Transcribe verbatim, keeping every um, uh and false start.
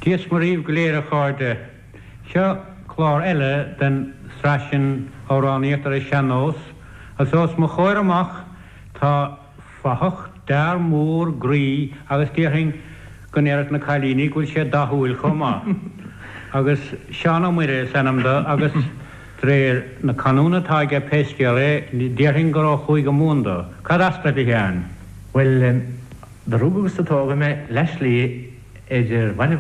Dia 's Muire dhaoibh go léir a chairde. Seo clár eile den tsraith sin amhránaíocht ar an sean-nós, agus os mo chomhair amach tá fathach d'fhear mór groí agus déarfainn go ndéarfadh na cailíní go bhfuil sé dathúil chomh maith. Agus Seán Ó Muire is ainm dó agus de réir na canúna atá aige pé scéal é, déarfainn gur ó Chúige Mumhan dó. Cad as duit a Sheáin? Well do rugadh agus do tógadh mé leath slí idir Bhaile